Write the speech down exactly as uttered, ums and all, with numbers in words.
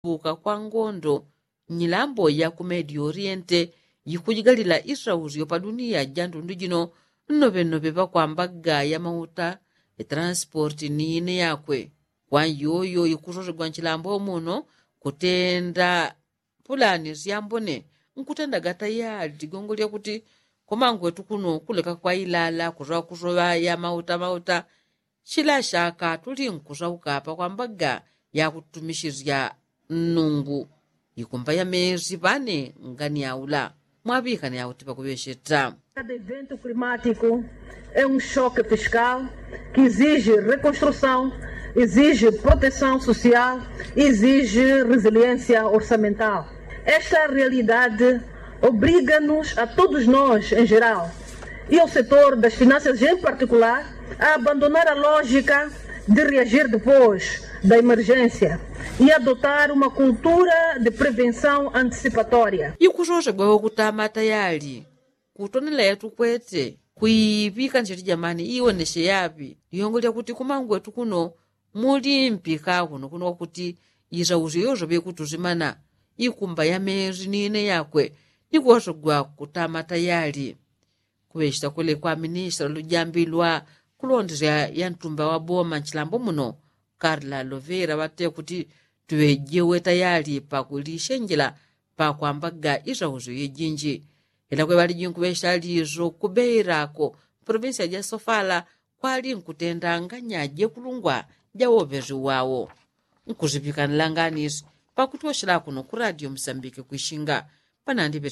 kusuka kwa ngondo nyilambo ya ku medio oriente yikujigalila isausyo pa duniya ja ndundu jino nnoŵe nnoŵe ŵakwambaga ya mauta ya transport ni ine yakwe. Kwa iyoyo ikusosegwa nchilambo muno kutenda pulani syambone nkutenda gatayali ligongo lyakuti komangwetu kuno kuleka kwa ilala kusoŵa kusoŵa ya mauta mauta. Chila shaka tuli nkusauka pakwambaga ya kutumishisya nnungu ikumba ya mesi ŵane ngani yaula mwaŵikana yauti pakuŵesheta. Cada evento climático é um choque fiscal que exige reconstrução, exige proteção social, exige resiliência orçamental. Esta realidade obriga-nos a todos nós em geral e ao setor das finanças em particular a abandonar a lógica de reagir depois da emergência e adotar uma cultura de prevenção antecipatória. Ikusosegwa wakutamata yali kutonela yatukwete kuiŵika ncheti jamani iwoneshe yaŵi liongo lyakuti kumangwetu kuno muli mpika kuno kuno kwakuti isausyo yosoŵe kutusimana ikumba ya mesi ni ine yakwe ni kuwasogwa kutama tayali. Kuŵechita kule kwa ministra lujambi lwa kulondesya ya ntumba wa boma nchilambo muno karla lovera ŵate kuti tuŵejewe tayali pakulishenjela pakwambaga isausyo yejinji. Ila kwe ŵaliji nkuŵechita liso kubeirako provinsia ja sofala kwali nkutenda nganya jekulungwa ja woŵesi wawo. Nkusiŵikanila nganisi pakuti woshela kuno ku radio musambike kwishinga panandi ŵeteya.